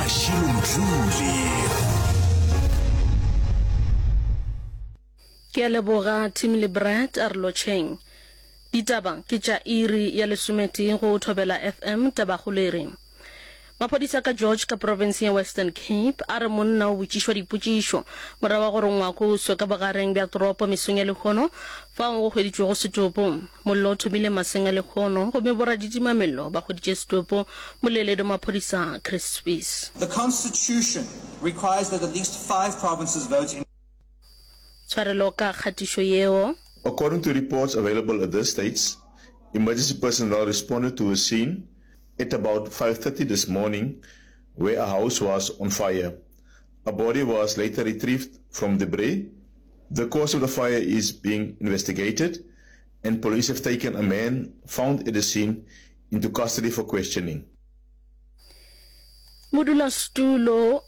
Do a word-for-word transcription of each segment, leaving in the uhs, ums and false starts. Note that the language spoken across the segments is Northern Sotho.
Mashilo Mdluli. Ke a leboga Tim le Brad, a re lotšheng. Ditaba ke tša iri ya lesometee go Thobela F M, Tabakgolo e re. Maphodisa ka George ka profenseng ya Western Cape a re monna o botšišwa dipotšišo morago ga gore ngwako o swe ka bogareng bja toropo mesong ya lehono fao go hweditšwego setopo. Mollo o thomile maseng a lehono gomme boraditimamello ba hweditše setopo, moleledi wa maphodisa Chris Spies. The Constitution requires that at least five provinces vote in. Tshwarelo ka kgatišo yeo. According to reports available at this stage, emergency personnel responded to a scene at about five thirty this morning where a house was on fire. A body was later retrieved from debris. The cause of the fire is being investigated and police have taken a man found at the scene into custody for questioning. Modulasetulo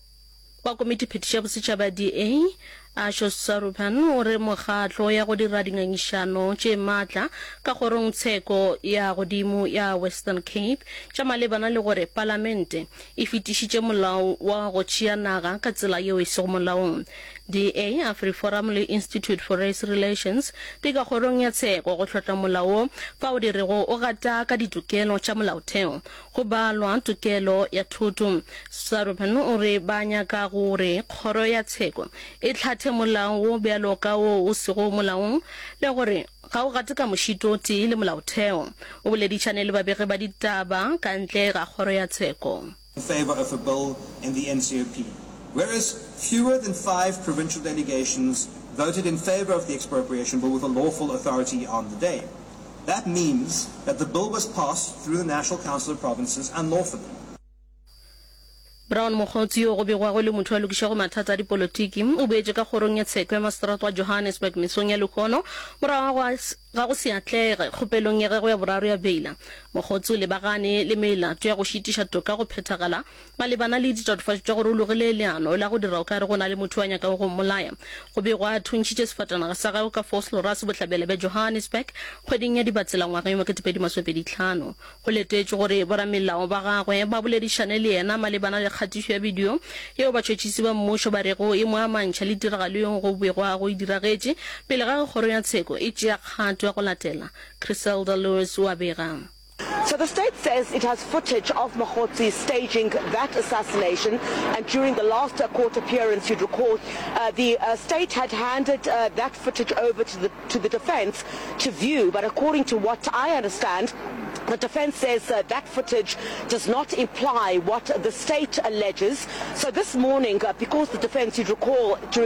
wa Komitiphethiši ya Bosetšhaba ya D A, Ashok Sarupan, o re mokgatlo ya go dira dingangišano tše maatla ka kgorongtsheko ya godimo ya Western Cape tša malebana le gore palamente e fetišitše molao wa go tšea naga ka tsela yeo e sego molaong. D A, AfriForum le Institute for Race Relations di ka kgorong ya tsheko go hlotla molao wo fao di rego o gata ka ditokelo tša molaotheo go balwa tokelo ya thoto. Sarupen o re ba nyaka gore kgoro ya tsheko e hlathe molao wo bjalo ka wo o sego molaong le gore ga o gate ka mošito o tee le molaotheo. O boledišane le babegi ba ditaba ka ntle ga kgoro ya tsheko. In favor of a bill in the N C O P, whereas fewer than five provincial delegations voted in favor of the expropriation bill with a lawful authority on the day. That means that the bill was passed through the National Council of Provinces unlawfully. Brown Mogotsi, yo go begwago e le motho a lokišago mathata a dipolotiki, o boetše ka kgorong ya tsheko ya maseterata wa Johannesburg mesong ya lehono morago ga go se atlege kgopelong ya gagwe ya boraro ya beila. Mogotsi o lebagane le melato ya go šitiša toka go phethagala malebana le ditatofatšo tša gore o logile leano la go dira o ka re go na le motho yo a nyakago go mmolaya. Go begwa a thuntšhitše sefatanaga sa gagwe ka Vosloorus bohlabela bja Johannesburg kgweding ya Dibatsela ngwageng wa ketepedi masomepedi hlano. Go letetšwe gore boramelao ba gagwe ba boledišane le yena malebana le kgatišo ya bidio yeo batšhotšhisi ba mmušo ba rego e mo amantšha le tiragalo yeo go begwago e diragetše pele ga ge kgoro ya tsheko e tšea kgato ya go latela. Chriselda Lewis o a bega. So the state says it has footage of Mogotsi staging that assassination, and during the last uh, court appearance, you'd recall, uh, the uh, state had handed uh, that footage over to the, to the defense to view. But according to what I understand, the defense says uh, that footage does not imply what the state alleges. So this morning, uh, because the defense, you'd recall, during